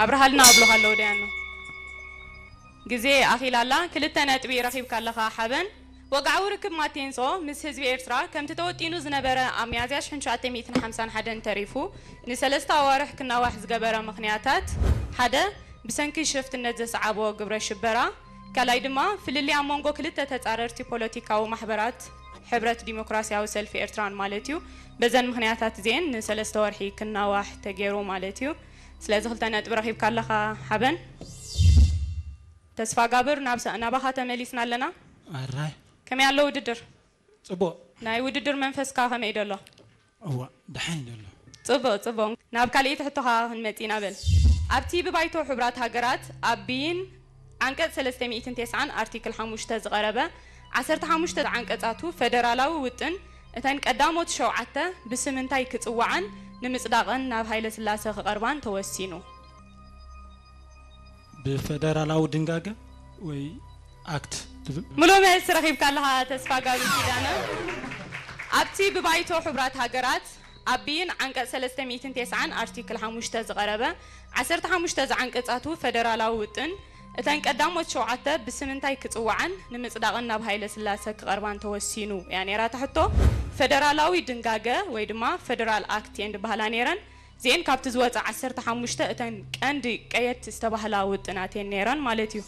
ኣብርሃልና ኣብሎኻ ኣለዉ ደያኑ። ግዜ ኣኺላላ፣ ክልተ ነጥቢ ረኺብካ ኣለኻ ሓበን። ወግዓዊ ርክብ ማቴንሶ ምስ ህዝቢ ኤርትራ ከምቲ ተወጢኑ ዝነበረ ኣብ ሚያዝያ ሽሕን ትሽዓተ ሚእትን ሓምሳን ሓደን ተሪፉ ንሰለስተ ኣዋርሕ ክናዋሕ ዝገበረ ምኽንያታት፣ ሓደ፣ ብሰንኪ ሽፍትነት ዘስዓቦ ግብረ ሽበራ፣ ካልኣይ ድማ ፍልልይ ኣብ መንጎ ክልተ ተጻረርቲ ፖለቲካዊ ማሕበራት ሕብረት ዲሞክራሲያዊ ሰልፊ ኤርትራን ማለት እዩ። በዘን ምኽንያታት እዚኤን ንሰለስተ ወርሒ ክናዋሕ ተገይሩ ማለት እዩ። ስለዚ ክልተ ነጥቢ ረኺብካ ኣለኻ ሓበን። ተስፋ ጋብር ናብ ሰ-፣ ናባኻ ተመሊስና ኣለና። ኣራይ። ከመይ ኣሎ ውድድር? ጽቡቕ። ናይ ውድድር መንፈስካ ከመይ ደሎ? እዋ፣ ደሓን እዩ ደሎ። ጽቡቕ፣ ጽቡቕ። ናብ ካልኣይቲ ሕቶኻ ክንመጽእ ኢና በል። ኣብቲ ብባይቶ ሕቡራት ሃገራት ኣብ ብይን ዓንቀጽ ሰለስተ ሚእትን ተስዓን ኣርቲክል ሓሙሽተ ዝቐረበ ዓሰርተ ሓሙሽተ ዓንቀጻቱ ፈደራላዊ ውጥን እተን ቀዳሞት ሸውዓተ ብስም እንታይ ክጽውዓን ንምጽዳቕን ናብ ሃይለ ስላሰ ክቐርባን ተወሲኑ? ብፈደራላዊ ድንጋገ ወይ ኣክት ትብል? ምሉእ መልሲ ረኺብካ ኣለኻ ተስፋ ጋብር ኪዳነ። ኣብቲ ብባይቶ ሕቡራት ሃገራት ኣብ ብይን ዓንቀጽ ሰለስተ ሚእትን ተስዓን ኣርቲክል ሓሙሽተ ዝቐረበ ዓሰርተ ሓሙሽተ ዝዓንቀጻቱ ፈደራላዊ ውጥን እተን ቀዳሞት ሸውዓተ ብስም እንታይ ክጽውዓን ንምጽዳቕን ናብ ሃይለ ስላሰ ክቐርባን ተወሲኑ እያ ነይራ እታ ሕቶ። ፈደራላዊ ድንጋገ ወይ ድማ ፈደራል ኣክት እየን ዝበሃላ ነይረን። እዚኤን ካብቲ ዝወጸ ዓሰርተ ሓሙሽተ እተን ቀንዲ ቀየድቲ ዝተባህላ ውጥናት እየን ነይረን ማለት እዩ።